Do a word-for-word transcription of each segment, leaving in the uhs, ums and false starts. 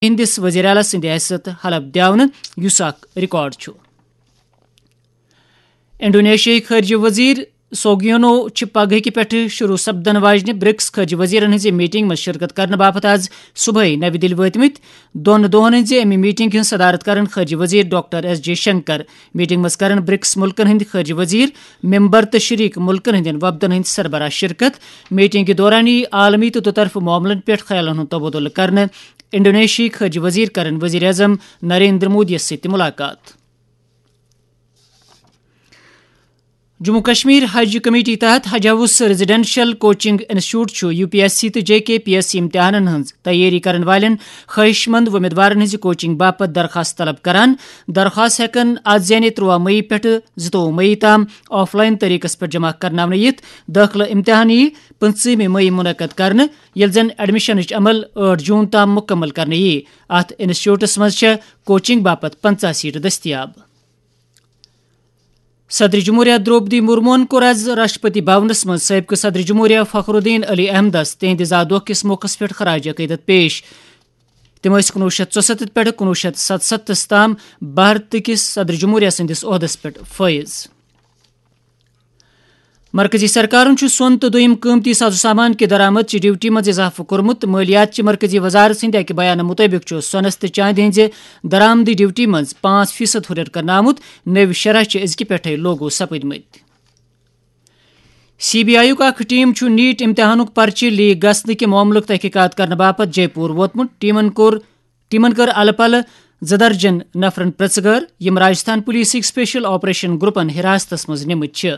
ہندس وزیر اعلیٰ سٕنٛدِ حیثیت حلف دیاونہٕ، یُس اکھ ریکارڈ چھُ۔ انڈونیشیاہٕکۍ خارجہ وزیر سوگیونو چھِ پگہٕکہِ پٮ۪ٹھٕ شروع سپدن واجنہِ برکس خارجہ وزیرن ہٕنٛزِ میٹنگ منٛز شرکت کرنہٕ باپتھ آز صبحٲے نَوِ دِلہِ وٲتمٕتۍ۔ دۄن دۄہن ہٕنٛزِ اَمہِ میٹنگ ہٕنٛز صدارت کرن خارجہ وزیر doctor S J Shankar. Meeting منٛز کرن برکس ملکن ہٕنٛدۍ خارجہ وزیر، ممبر تہٕ شریک ملکن ہٕنٛدٮ۪ن وفدن ہٕنٛدۍ سربراہ شرکت۔ میٹنگ کہِ دوران یِیہِ عالمی تہٕ دُطرفہٕ معاملن پٮ۪ٹھ خیالن ہُنٛد تبادلہٕ کرنہٕ۔ انڈونیشیاہٕکۍ خارجہ وزیر کرن وزیر اعظم نریندر مودی یس سۭتۍ تہِ ملاقات۔ جموں کشمیر حج کمیٹی تحت حج ہاؤس ریزیڈنشل کوچنگ انسٹیٹیوٹ چھُ یو پی ایس سی تہٕ جے کے پی ایس سی امتحانن ہٕنٛز تیٲری کرن والٮ۪ن خواہش مند وۄمیدوارن ہٕنٛزِ کوچنگ باپتھ درخواست طلب کران۔ درخواست ہٮ۪کن از یعنی تُرٛواہ مئی پٮ۪ٹھٕ زٕتووُہ مئی تام آف لائن طریقس پٮ۪ٹھ جمع کرناونہٕ یِتھ۔ دٲخلہٕ امتحان یِیہِ پٕنٛژٕہمہِ مئی منعقد کرنہٕ، ییٚلہِ زن ایڈمشنٕچ عمل ٲٹھ جون تام مکمل کرنہٕ یِیہِ۔ اتھ انسٹیٹیوٹس منٛز چھےٚ کوچنگ باپتھ پنٛژاہ سیٹہٕ دٔستیاب۔ صدر جمہوریہ درٛوپدی مرموہن کوٚر از راشٹرپتی بھونس منٛز سٲبقہٕ صدر جمہوریہ فخر الدین علی احمدس تِہنٛدِ زا دۄہ کِس موقعس پٮ۪ٹھ خراج عقیدت پیش۔ تِم ٲسۍ کُنوُہ شیٚتھ ژُسَتتھ پٮ۪ٹھٕ کُنوُہ شیٚتھ ستستھس تام بھارت کِس صدر جمہوریہ سٕنٛدِس عہدس پٮ۪ٹھ فٲیض۔ مرکزی سرکارن چھُ سۄن تہٕ دوٚیِم قۭمتی ساز و سامان کہِ درآمد چہِ ڈیوٹی منٛز اضافہٕ کوٚرمُت۔ مٲلیات چہِ مرکزی وزارت سٕنٛدِ اَکہِ بیانہٕ مُطٲبِق چھُ سۄنس تہٕ چاندِ ہٕنٛزِ درآمدی ڈیوٹی منٛز پانٛژھ فیصد ہُرٮ۪ر کرنہٕ آمُت۔ نٔوۍ شرح چھِ أزکہِ پٮ۪ٹھَے لاگو سپٕدمٕتۍ۔ سی بی آئی یُک اکھ ٹیم چھُ نیٹ امتحانُک پرچہِ لیک گژھنہٕ کہِ معاملُک تحقیقات کرنہٕ باپتھ جے پور ووتمُت۔ ٹیمن کوٚر، ٹیمن کٔر الہٕ پلہٕ زٕ درجن نفرن پرژھگٲر، یِم راجستھان پولیسٕکۍ اسپیشل آپریشن گروپن حراستس منٛز نِمٕتۍ چھِ۔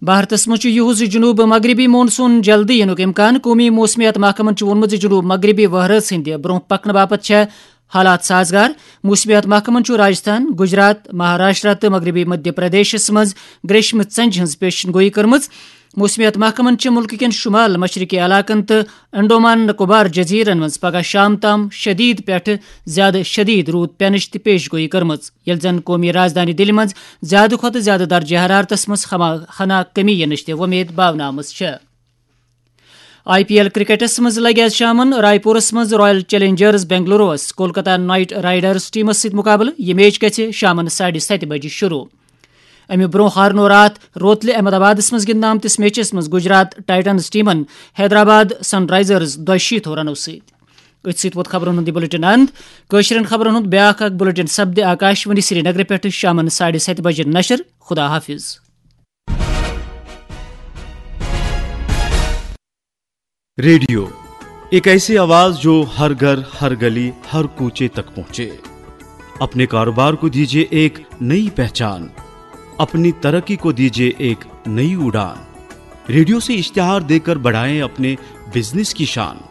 بھارتس منٛز چھُ یُہُس جنوب مغربی مونسون جلدی یِنُک امکان۔ قومی موسمیات محکمن چھُ ووٚنمُت زِ جنوب مغربی وہرٲژ ہٕنٛدِ برونٛہہ پکنہٕ باپتھ چھےٚ حالات سازگار۔ موسمیات محکمن چھُ راجستھان، گجرات، مہاراشٹرا تہٕ مغربی مدھیہ پردیشس منٛز گریشمہٕ ژنجہِ ہٕنٛز پیشن گویی کٔرمٕژ۔ موسمیات محکمن چھِ مُلکہٕ کٮ۪ن شمال مشرقی علاقن تہٕ انڈومان نکوبار جزیرن منٛز پگہہ شام تام شدید پٮ۪ٹھٕ زیادٕ شدید روٗد پینٕچ تہِ پیش گویی کٔرمٕژ، ییٚلہِ زن قومی رازدانی دِلہِ منٛز زیادٕ کھۄتہٕ زیادٕ درجہ حرارتس منٛز ہما-، ہنا کمی یِنٕچ تہِ وۄمید باونہٕ آمٕژ چھےٚ۔ آئی پی ایل کرکٹس منٛز لگہِ آز شامن رائے پورس منٛز رائل چیلنجرز بنگلوروس کولکتہ نائٹ رائیڈرز ٹیمس سۭتۍ مقابلہٕ۔ یہِ میچ گژھِ شامن ساڑِ ستہِ بجہِ شروع۔ امہِ برونٛہہ ہارنو راتھ روتلہِ احمد آبادس منٛز گِنٛدنہٕ آمتِس میچس منٛز گجرات ٹائٹنز ٹیمن حیدرآباد سن رائزرز دۄیہِ شیٖتھ رنو سۭتۍ۔ أتھۍ سۭتۍ ووت خبرن ہُنٛد یہِ بلیٹن اند۔ کٲشرٮ۪ن خبرن ہُنٛد بیٛاکھ اکھ بلیٹن سپدِ آکاشوانی سرینگرٕ پٮ۪ٹھٕ شامن ساڑِ ستہِ بجہِ نشر۔ خدا حافظ۔ ریڈیو، ایک ایسی آواز جو ہر گھر، ہر گلی، ہر کوچے تک پہنچے۔ اپنے کاروبار کو دیجیے ایک نئی پہچان، اپنی ترقی کو دیجیے ایک نئی اڑان۔ ریڈیو سے اشتہار دیکر بڑھائیں اپنے بزنس کی شان۔